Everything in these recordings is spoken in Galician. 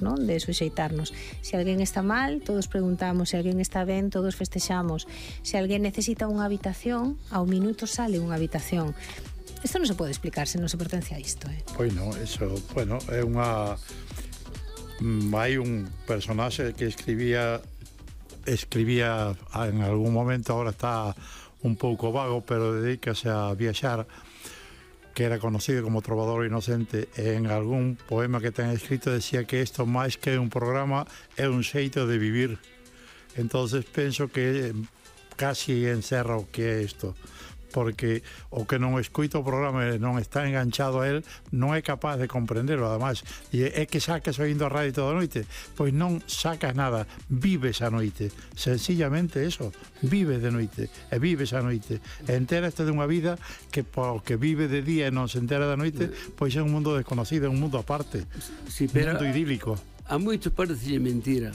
non? De suxeitarnos. Se alguén está mal, todos preguntamos. Se alguén está ben, todos festexamos. Se alguén necesita unha habitación, ao minuto sale unha habitación. Isto non se pode explicar se non se pertence a isto, Pois non, eso, bueno, é unha... Hai un personaxe que escribía en algún momento, ahora está un pouco vago, pero dedícase a viaxar, que era conocido como Trovador Inocente, e en algún poema que ten escrito decía que isto máis que un programa é un xeito de vivir. Entonces penso que casi encerra o que é isto, porque o que non escoita o programa e non está enganchado a él non é capaz de comprenderlo. Además, é que sacas oindo a radio toda a noite, pois non sacas nada, vives a noite, sencillamente eso, vives de noite e vives a noite e enteraste de unha vida que polo que vive de día e non se entera da noite, pois é un mundo desconocido, é un mundo aparte, sí, pero un mundo idílico. A moitos parece mentira,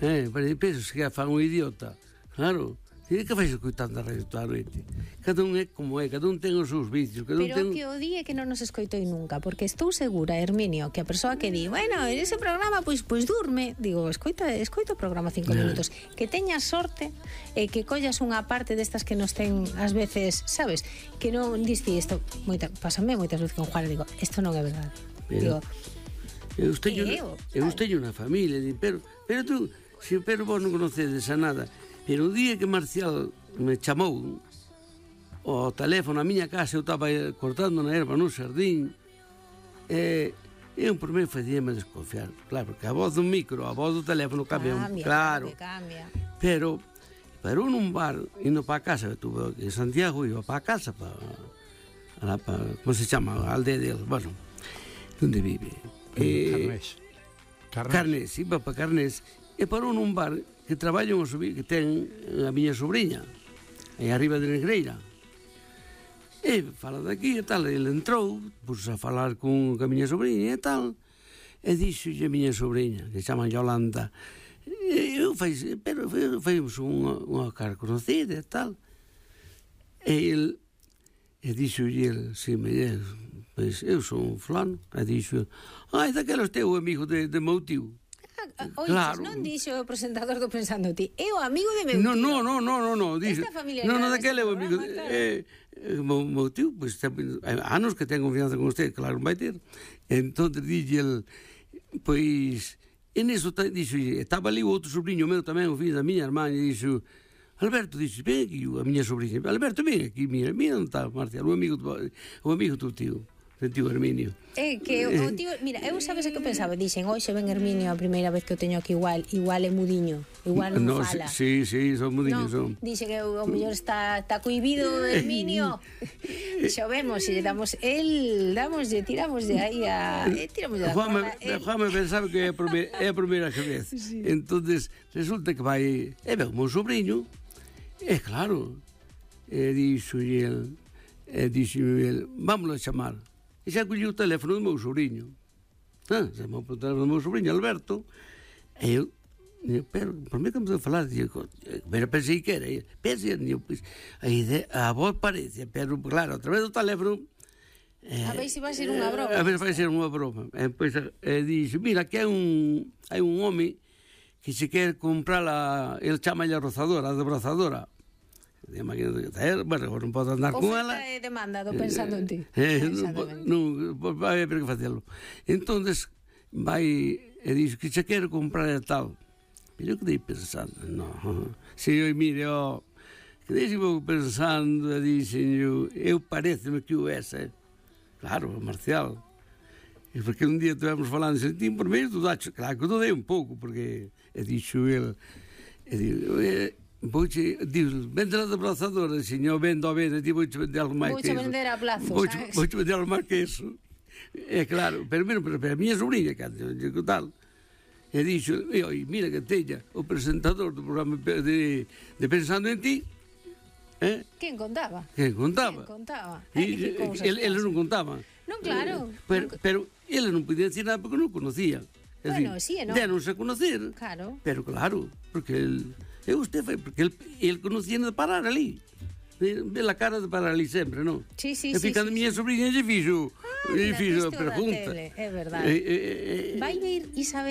penso que fan un idiota, claro. E que vais escoitando a radio toda a noite? Cada un é como é, cada un ten os seus vicios. Pero que o di é que non nos escoitoi nunca, porque estou segura, Herminio, que a persoa que di, bueno, ese programa, pois durme, digo, escoita o programa 5 minutos, que teñas sorte e que collas unha parte destas que nos ten ás veces, sabes, que non diste isto, pásame moitas veces con Juan, digo, isto non é verdade. Digo, eu teño unha familia, pero vos non conocedes a nada. Pero o día que Marcial me chamou ao teléfono a miña casa, eu estaba cortando na erva no xardín, eu por mí facíame desconfiar, claro, porque a voz do micro, a voz do teléfono cambia, claro, pero nun bar indo para a casa, eu estuve en Santiago, iba para a casa, para como se chama, a aldea del, bueno, onde vive? Carnés, iba para Carnés, e parou nun bar que traballo que ten a miña sobrinha aí arriba de Negreira, e fala daqui e tal, ele entrou, puse a falar con a miña sobrinha e tal, e dixolle a miña sobrinha, que chaman Yolanda, e eu faimos unha cara conocida e tal, e dixolle ele, si, me pois eu son fulano, e dixo, daqueles teu amigo de meu tio. Claro. Non dixo o presentador do Pensando en Ti, é o amigo de meu tío. No, dixo. Non, daquele é o amigo. Meu tío, pois, anos que ten confianza con usted, claro, vai ter. Entón, dixo, pois, en iso, dixo, estaba ali o outro sobrinho meu tamén, o filho da miña irmã, e dixo, Alberto, dixo, ven aquí, a miña sobrinha, Alberto, ven aquí, mira onde está, Marcial, o amigo do tío. O tío Herminio. Que o tío, mira, eu sabes o que pensaba, dixen, hoxe ven Herminio a primeira vez que o teño aquí igual é mudiño, igual non fala. Sí, son mudiños, son. Dixe que o mellor está cohibido Herminio. Xo vemos, se lle damos tiramoslle aí a tiramoslle a Juanme pensaba que é a primeira vez. Entonces, resulta que vai e ve o meu sobrinho, e claro, dixo ele, vámonos a chamar. E xa colleu o teléfono do meu sobrinho. Chamou o teléfono do meu sobrinho, Alberto, e eu, pero, por mí que me deu a falar, pero pensei que era, a voz parece, pero, claro, a través do teléfono, a ver se vai ser unha broma. A ver se vai ser unha broma. E, pois, dixo, mira, que hai un home que se quer comprar ele chama a rozadora, a debrazadora. Bueno, non podo andar con ela. Oferta e demanda do Pensando en Ti. Non, vai haber que facelo. Entonces vai e dixe que se quere comprar e tal. Pero eu quedei pensando, mire, quedei pensando, e dixen eu pareceme que o ese. Claro, Marcial. E porque un día estivemos falando de ti, por meio do dacho, claro que eu dudei un pouco, porque dixo ele, vouche, vende a debrazadora, señor, vendo, ti vouche vender algo máis que iso. Vouche vender a plazo, sabes? Vouche vender algo máis que iso. É claro, pero a miña sobrinha, que tal, e dixo, mira que teña o presentador do programa de Pensando en Ti. Quen contaba? Ele non contaba. Non, claro. Pero ele non podía decir nada porque non o conocía. Bueno, sí, non. Deronse a conocer. Claro. Pero claro, porque porque ele conocía de parar ali. Ve a cara de parar ali sempre, non? Sí. E ficando a miña sobrinha lle fixo a pregunta. É verdade. Vai ver Isabel